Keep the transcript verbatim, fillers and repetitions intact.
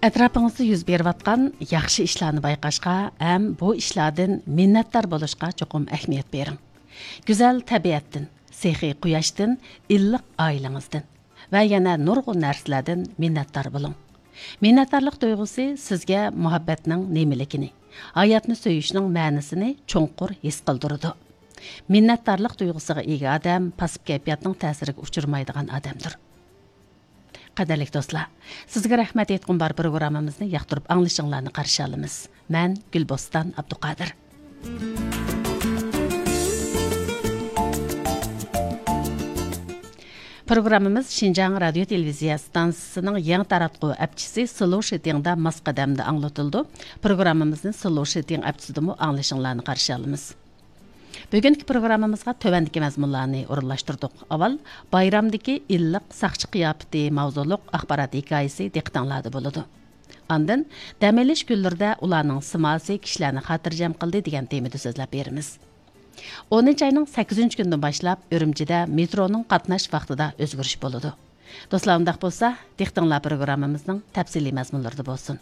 ئەتراپىڭىزدا يۈز بېرىۋاتقان ياخشى ئىشلارنى بايقاشقا ھەم بۇ ئىشلاردىن مىننەتدار بولۇشقا چوقۇم ئەھمىيەت بېرىڭ. گۈزەل تەبىئەتتىن، سېخىي قۇياشتىن، ئىللىق ئائىلىڭىزدىن ۋە يەنە نۇرغۇن نەرسىلەردىن مىننەتدار بولۇڭ. مىننەتدارلىق تۇيغۇسى سىزگە مۇھەببەتنىڭ نېمىلىكىنى، ھاياتنى سۆيۈشنىڭ مەنىسىنى چوڭقۇر ھېس قىلدۇرىدۇ. مىننەتدارلىق تۇيغۇسىغا ئىگە ئادەم پاسسىپ كەيپىياتنىڭ تەسىرىگە ئۇچرىمايدىغان ئادەمدۇر. قەدىرلىك دوستلار، سىزگە رەھمەت ئېيتقۇم بار پروگراممىمىزنى ياقتۇرۇپ ئاڭلىشىڭلارنى قارشى ئالىمىز. مەن گۈلبوستان ئابدۇقادىر. پروگراممىمىز شىنجاڭ رادىيو تېلېۋىزىيە ئىستانسىسىنىڭ يېڭى تاراتقۇ ئەپچىسى سلوشىتىڭدا ماس قەدەمدە ئاڭلىتىلىدۇ. پروگراممىمىزنى سلوشىتىڭ ئەپچىسىدىمۇ ئاڭلىشىڭلارنى قارشى ئالىمىز. بۈگۈنكى پروگراممىمىزغا تۆۋەندىكى مەزمۇنلارنى ئورۇنلاشتۇردۇق. ئاۋۋال، بايرامدىكى ئىللىق ساقچى قىياپىتى ماۋزۇلۇق ئاخبارات ھېكايىسى دىققىتىڭلاردا بولىدۇ. ئاندىن، دەم ئېلىش كۈنلىرىدە ئۇلارنىڭ سىماسى كىشىلەرنى خاتىرجەم قىلدى دېگەن تېمىدا سۆزلەپ بېرىمىز. ئونىنچى ئاينىڭ سەككىزىنچى كۈنىدىن باشلاپ ئۈرۈمچىدە مېترونىڭ قاتناش ۋاقتىدا ئۆزگىرىش بولىدۇ. دوستلار، ئۇنداق بولسا، دىققىتىڭلار پروگراممىمىزنىڭ تەپسىلىي مەزمۇنلىرىدا بولسۇن.